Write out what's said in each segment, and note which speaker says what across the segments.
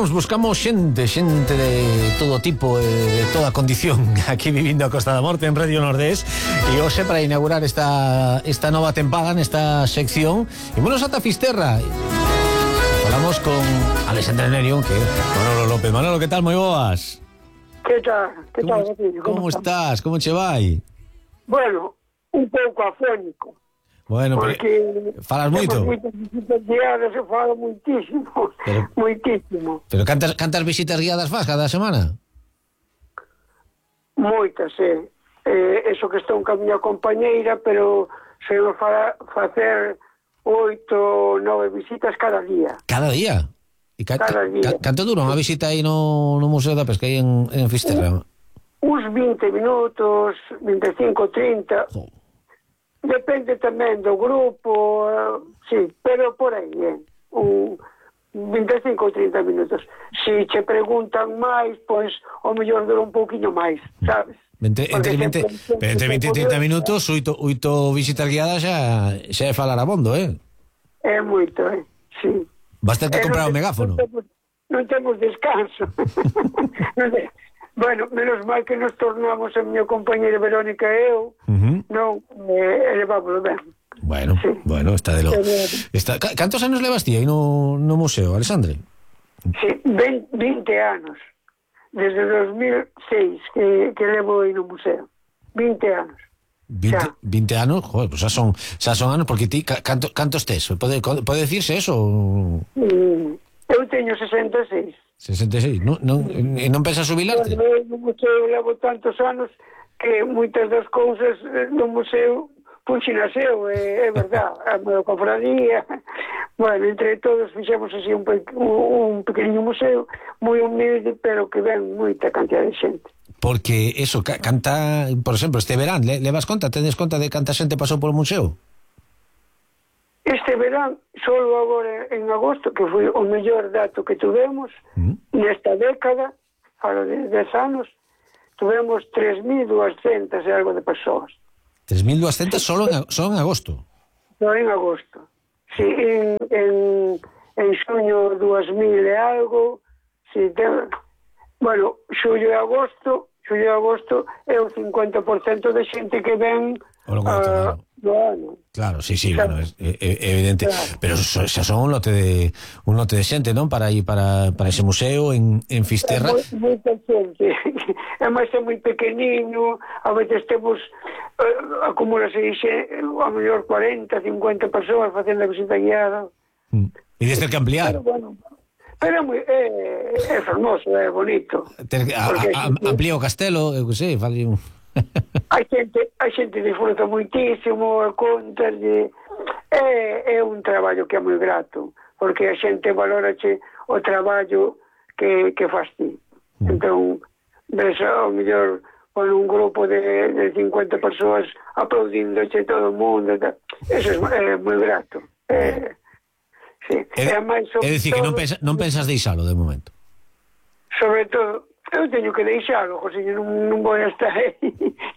Speaker 1: buscamos xente de todo tipo, de toda condición aquí vivindo a Costa da Morte en Radio Nordés. E hoxe, para inaugurar esta nova tempada nesta sección, ímonos ata Fisterra. Falamos con Alexandre Nerion, que é Manolo López. Manolo, que tal? Moi boas.
Speaker 2: Que tal?
Speaker 1: Como estás? Como che vai?
Speaker 2: Bueno, un pouco afónico.
Speaker 1: Bueno,
Speaker 2: porque
Speaker 1: falas moito.
Speaker 2: Moitas visitas guiadas, eu falo moitísimo. Moitísimo.
Speaker 1: Pero cantas visitas guiadas faz cada semana?
Speaker 2: Moitas, eso que estou con a miña compañeira, pero se eu facer 8, 9 visitas cada día.
Speaker 1: Cada día? E
Speaker 2: cada día.
Speaker 1: Canto dura unha visita aí no Museo da Pesca aí en Fisterra?
Speaker 2: Uns 20 minutos, 25, 30... Oh. Depende tamén do grupo, sí, pero por aí, 25 ou 30 minutos. Se che preguntan máis, pois, o mellor dura un pouquinho máis, sabes?
Speaker 1: Entre 20 e 30 minutos, 8 visitas guiadas xa é falar abondo,
Speaker 2: É moito, sí.
Speaker 1: Vas ter que comprar o megáfono.
Speaker 2: Non temos descanso. Bueno, menos mal que nos tornamos a miña compañera Verónica e eu, non, elevámoslo ben.
Speaker 1: Bueno, sí. Bueno, está de lo... Cantos anos levas ti aí no museo, Alexandre?
Speaker 2: Sí, 20 anos. Desde 2006 que levo aí no museo. 20 anos.
Speaker 1: 20 anos? Joder, pues xa son anos, porque ti, cantos tes? Pode dicirse eso?
Speaker 2: Eu teño 66.
Speaker 1: 66, non pensas jubilarte?
Speaker 2: No museo levo tantos anos que moitas das cousas no museo funcionaseu, é verdad, a miña cofradía. Bueno, entre todos fixemos así un pequeniño museo moi humilde, pero que ven moita cantidad de xente.
Speaker 1: Porque eso, canta, por exemplo, este verán, levas conta, tedes conta de canta xente pasou polo museo?
Speaker 2: Este verán, solo agora en agosto, que foi o mellor dato que tuvemos, nesta década, falo de 10 anos, tuvemos 3.200 e algo de persoas.
Speaker 1: 3.200 solo en agosto?
Speaker 2: Só en agosto. Sí, en xuño 2.000 e algo, sí, bueno, xullo e agosto é o 50% de xente que ven
Speaker 1: no ano. Claro, sí, claro. Bueno, é evidente, claro. Pero xa son un lote de xente, non? Para ese museo en Fisterra.
Speaker 2: Moita xente. Además é moi pequeniño, a veces temos acumulase a mellor 40, 50 persoas facendo a visita guiada.
Speaker 1: E desde que ampliar.
Speaker 2: Pero é fermoso, é bonito.
Speaker 1: Amplía o castelo, eu que sei, fali un...
Speaker 2: A xente disfruta moitísimo, contalle, é un traballo que é moi grato, porque a xente valorache o traballo que faz ti. Entón, ves ao mellor con un grupo de 50 persoas aplaudíndoche todo o mundo, eso é moi grato. Sí.
Speaker 1: É dicir, que non pensas deixalo de momento?
Speaker 2: Sobre todo, eu teño que deixalo, José, non vou a estar aí.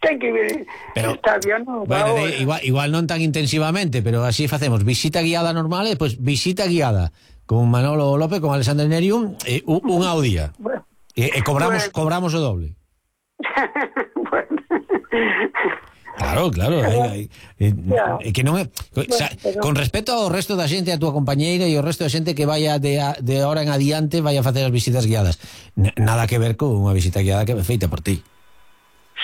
Speaker 2: Ten que vir.
Speaker 1: Pero,
Speaker 2: está bien, non?
Speaker 1: Bueno, igual non tan intensivamente, pero así facemos visita guiada normal e despois visita guiada con Manolo López, con Alexandre Nerion, unha ao día. Bueno, e cobramos o doble.
Speaker 2: Bueno.
Speaker 1: Claro. Que non é, con respecto ao resto da xente, a túa compañeira e o resto da xente que vaya de ahora en adiante vai a facer as visitas guiadas, nada que ver con unha visita guiada que é feita por ti.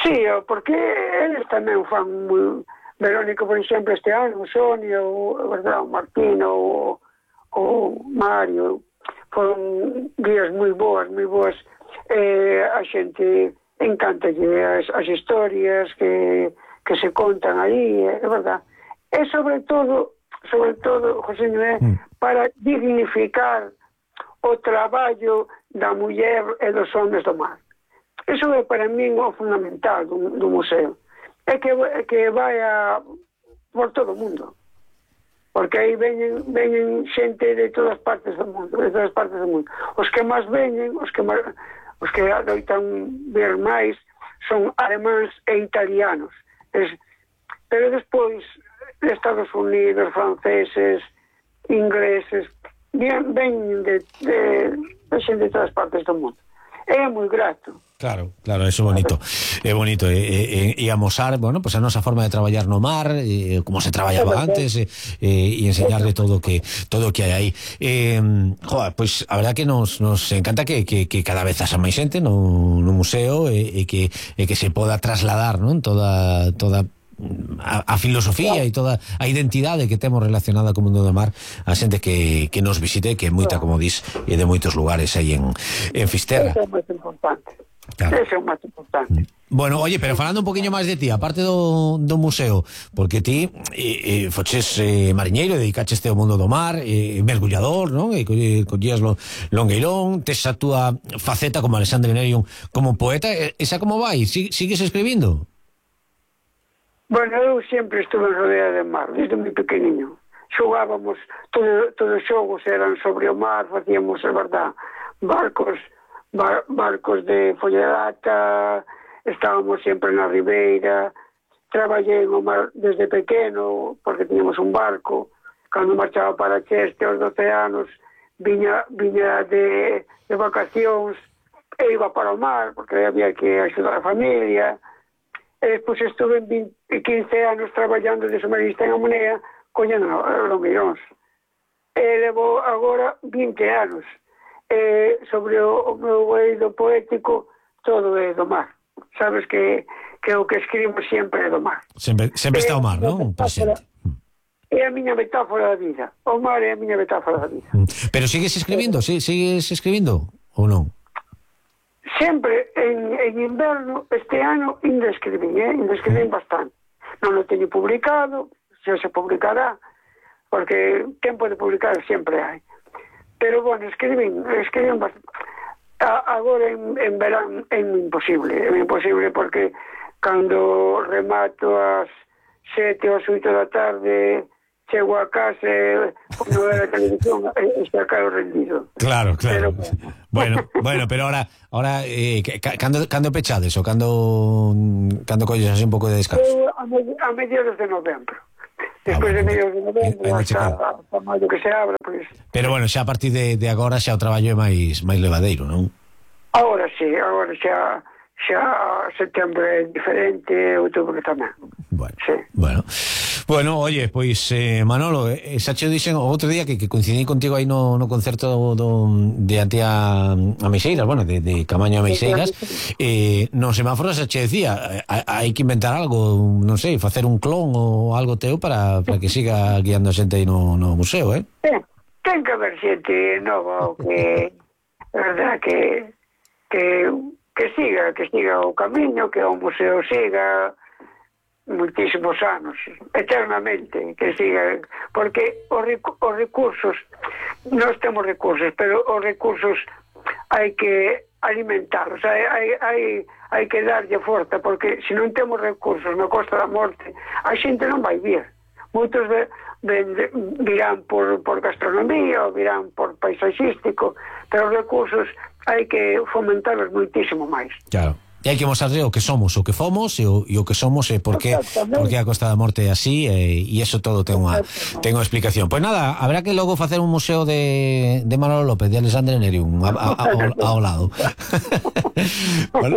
Speaker 2: Sí, porque eles tamén fan moi... Verónica, por exemplo, este ano, Sonia, o Martín, o Mario, foron guías moi boas. A xente encantalle as historias que se contan aí, é verdad. E sobre todo, José, para dignificar o traballo da muller e dos homens do mar. Iso é para min o fundamental do museo. É que vai por todo o mundo. Porque aí veñen xente de todas partes do mundo, Os que máis veñen, os que adoitan ver máis, son alemáns e italianos. Pero despois, Estados Unidos, franceses, ingleses, veñen de xente de todas partes do mundo. É moi grato.
Speaker 1: Claro, eso é bonito. É bonito e amosar, bueno, pues a nosa forma de traballar no mar, como se traballaba antes, e enseñarle todo o que hai aí. Joder, pues a verdad que nos encanta que cada vez haxa máis xente no museo e que se poda trasladar, non? Toda a filosofía e toda a identidade que temos relacionada co mundo do mar a xente que nos visite, que é moita, como dis, e de moitos lugares aí en Fisterra.
Speaker 2: Eso é máis importante.
Speaker 1: Claro.
Speaker 2: Eso é o máis importante.
Speaker 1: Bueno, oye, pero falando un poquinho máis de ti, aparte do museo, porque ti foches mariñeiro, dedicaches ao mundo do mar, mergullador, non? E collías longueirón, tes a túa faceta como Alexandre Nerium como poeta, esa como vai? Sigues escribindo?
Speaker 2: Bueno, eu sempre estuve rodeada de mar, desde moi pequeniño. Xogábamos, todos os xogos eran sobre o mar, facíamos, a verdad, barcos de follada, estábamos sempre na ribeira, traballei no mar desde pequeno, porque tiñamos un barco, cando marchaba para Cheste aos 12 anos, viña de vacacións, e iba para o mar, porque había que axudar a familia. E despois estuve 15 anos traballando de submarinista en Amonea, collendo longueiróns. E levo agora 20 anos. Sobre o meu eido poético, todo é do mar. Sabes que o que escribo sempre é do mar.
Speaker 1: Sempre está o mar, non? Presente.
Speaker 2: É a miña metáfora da vida. O mar é a miña metáfora da vida.
Speaker 1: Pero sigues escribindo? Sigues escribindo ou non?
Speaker 2: Sempre en inverno, este ano, ainda escribín bastante. Non o teño publicado, xa se publicará, porque tempo de publicar sempre hai. Pero, bueno, escribín bastante. Agora en verán é imposible porque cando remato ás 7 ou 8 da tarde, chego a casa e non era a televisión, está caro rendido.
Speaker 1: Claro. Pero, bueno, pero ahora cando pechades ou cando colles así un pouco de descanso?
Speaker 2: A mediados de novembro. Despois de mediados de novembro hasta maio que se abra, pois.
Speaker 1: Pero bueno, xa a partir de agora xa o traballo é máis levadeiro, non?
Speaker 2: Agora xa setembro é diferente, outubro tamén.
Speaker 1: Bueno, oye, pois Manolo, xa che dixen o outro día que coincidí contigo aí no concerto de Antía a Meixeiras, bueno, de Camaño a Meixeiras, no semáforo xa che decía, hai que inventar algo, non sei, facer un clon ou algo teu para que siga guiando a xente aí no museo,
Speaker 2: Ten que haber xente nova, que verdad que siga o camiño, que o museo siga moitísimos anos, eternamente, que siga, porque os recursos, nós temos recursos, pero os recursos hai que alimentarlos, hai que darlle forza, porque se non temos recursos na Costa da Morte, a xente non vai vir. Moitos virán por gastronomía ou virán por paisaxístico, pero os recursos hai que fomentarlos moitísimo máis.
Speaker 1: Claro. E hai que mostrarle o que somos, o que fomos e o que somos e por que a Costa da Morte é así e iso todo ten unha explicación. Pois nada, habrá que logo facer un museo de Manolo López, de Alexandre Nerium ao lado.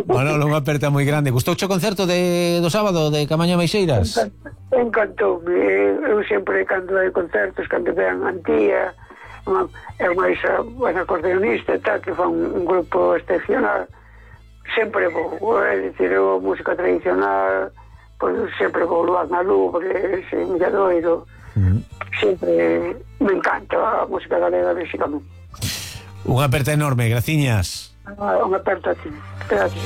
Speaker 1: Manolo, unha aperta moi grande. Gustouche o concerto do sábado de Camaño a Meixeiras?
Speaker 2: Encantoume. Eu sempre, cando hai concertos, cando vean Antía, é máis a acordeonista e tal, que fan un grupo excepcional, sempre vou, é dicir, eu música tradicional, pois sempre vou luar na Lubre, Milladoiro, sempre me encanta a música galega, basicamente.
Speaker 1: Unha aperta enorme, graciñas.
Speaker 2: Unha aperta a ti, gracias.